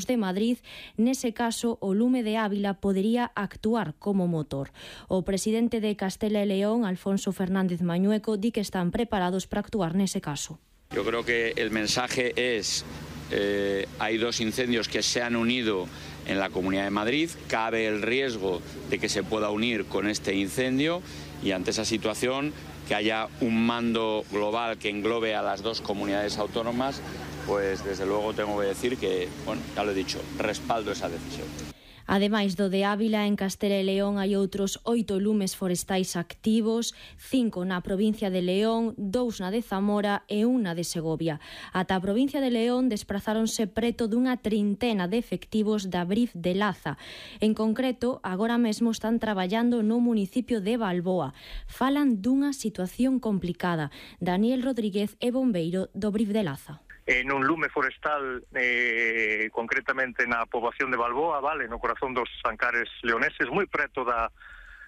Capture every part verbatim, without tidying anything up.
de Madrid, nese caso o lume de Ávila podería actuar como motor. O presidente de Castela e León, Alfonso Fernández Mañueco, di que están preparados para actuar nese caso. Yo creo que el mensaje es, eh, hay dos incendios que se han unido en la Comunidad de Madrid, cabe el riesgo de que se pueda unir con este incendio y ante esa situación que haya un mando global que englobe a las dos comunidades autónomas, pues desde luego tengo que decir que, bueno, ya lo he dicho, respaldo esa decisión. Ademais do de Ávila, en Castela e León hai outros oito lumes forestais activos, cinco na provincia de León, dous na de Zamora e un na de Segovia. Ata a provincia de León desprazáronse preto dunha trintena de efectivos da Brif de Laza. En concreto, agora mesmo están traballando no municipio de Balboa. Falan dunha situación complicada. Daniel Rodríguez é bombeiro do Brif de Laza. En un lume forestal, eh, concretamente na poboación de Balboa, vale, no corazón dos Ancares leoneses, moi preto da,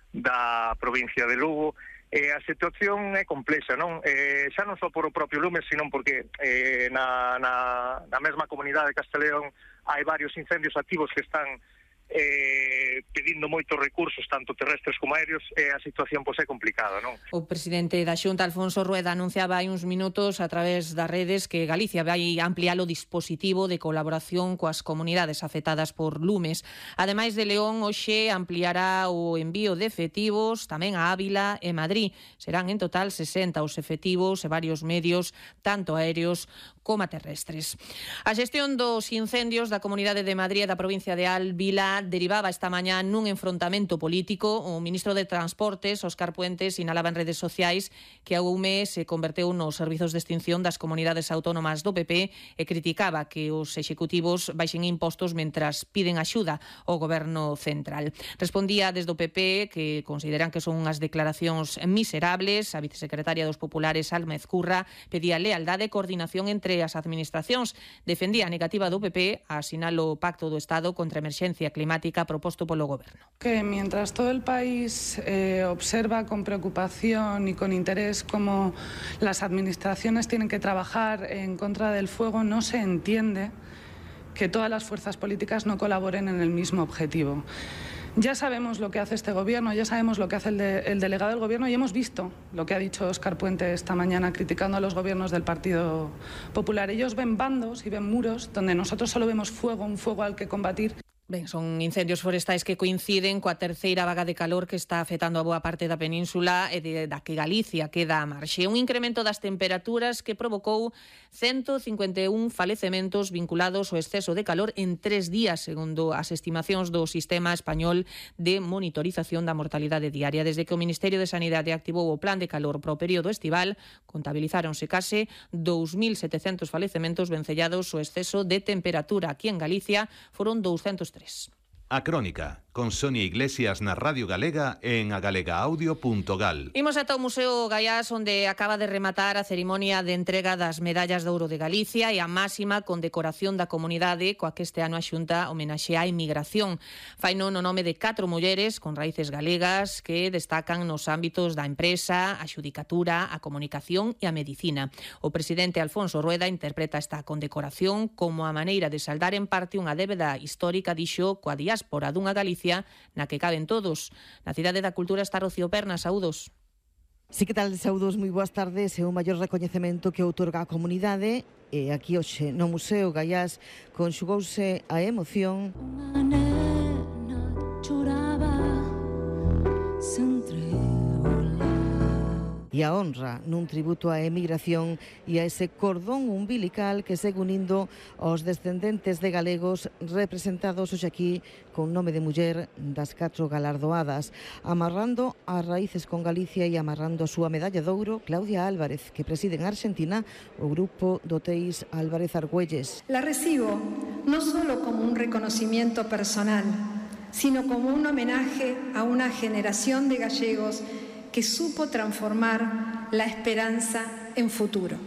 da provincia de Lugo. Eh, a situación é complexa, non? Eh, xa non só por o propio lume, sino porque eh, na, na, na mesma comunidade de Casteleón hai varios incendios activos que están eh, pedindo moitos recursos, tanto terrestres como aéreos, e a situación pois é complicada, non? O presidente da Xunta, Alfonso Rueda, anunciaba hai uns minutos a través das redes que Galicia vai ampliar o dispositivo de colaboración coas comunidades afectadas por lumes. Ademais de León, hoxe ampliará o envío de efectivos tamén a Ávila e Madrid. Serán en total sesenta os efectivos e varios medios, tanto aéreos como terrestres. A xestión dos incendios da Comunidade de Madrid e da provincia de Ávila derivaba esta mañá nun enfrontamento político. O ministro de Transportes, Óscar Puentes, sinalaba en redes sociais que a U M E se converteu nos servizos de extinción das comunidades autónomas do P P e criticaba que os executivos baixen impostos mentras piden axuda ao goberno central. Respondía desde o P P que consideran que son unhas declaracións miserables. A vicesecretaria dos Populares, Alma Ezcurra, pedía lealdade e coordinación entre as administracións. Defendía a negativa do P P a asinar o Pacto do Estado contra a emerxencia climática proposto polo Goberno. Que mientras todo el país eh, observa con preocupación y con interés cómo las administraciones tienen que trabajar en contra del fuego, no se entiende que todas las fuerzas políticas no colaboren en el mismo objetivo. Ya sabemos lo que hace este gobierno, ya sabemos lo que hace el, de, el delegado del gobierno y hemos visto lo que ha dicho Óscar Puente esta mañana criticando a los gobiernos del Partido Popular. Ellos ven bandos y ven muros donde nosotros solo vemos fuego, un fuego al que combatir. Ben, son incendios forestais que coinciden coa terceira vaga de calor que está afectando a boa parte da península e de, da que Galicia queda a marxe. Un incremento das temperaturas que provocou ciento cincuenta e un falecementos vinculados ao exceso de calor en tres días, segundo as estimacións do Sistema Español de Monitorización da Mortalidade Diaria. Desde que o Ministerio de Sanidade activou o plan de calor pro período estival, contabilizáronse case dous mil setecentos falecementos vencellados ao exceso de temperatura. Aquí en Galicia foron doscientos tres. A Crónica, con Sonia Iglesias na Radio Galega en agalegaaudio punto gal. Imos ata o Museo Gaiás, onde acaba de rematar a cerimonia de entrega das medallas de ouro de Galicia e a máxima condecoración da comunidade coa que este ano a Xunta homenaxea a inmigración. Faino no nome de catro mulleres con raíces galegas que destacan nos ámbitos da empresa, a xudicatura, a comunicación e a medicina. O presidente Alfonso Rueda interpreta esta condecoración como a maneira de saldar en parte unha débeda histórica, dixo, coa diáspora dunha Galicia na que caben todos. Na Cidade da Cultura está Rocío Perna, saúdos. Sí, que tal, saúdos, moi boas tardes. É o maior recoñecemento que outorga a comunidade e aquí hoxe no Museo Gaiás conxugouse a emoción. Unha nena choraba sempre e a honra nun tributo á emigración e a ese cordón umbilical que segue unindo aos descendentes de galegos representados hoxe aquí con nome de muller das catro galardoadas, amarrando as raíces con Galicia e amarrando a súa medalla de ouro, Claudia Álvarez, que preside en Argentina o grupo de hotéis Álvarez Argüelles. La recibo no solo como un reconocimiento personal, sino como un homenaje a una generación de gallegos que supo transformar la esperanza en futuro.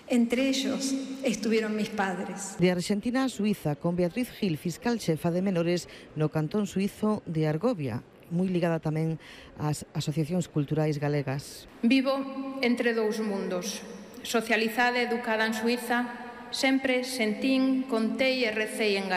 Entre ellos estuvieron mis padres. De Argentina a Suiza, con Beatriz Gil, fiscal chefa de menores no cantón suizo de Argovia, moi ligada tamén ás asociacións culturais galegas. Vivo entre dous mundos, socializada e educada en Suiza, sempre sentín, contei e recei en galego.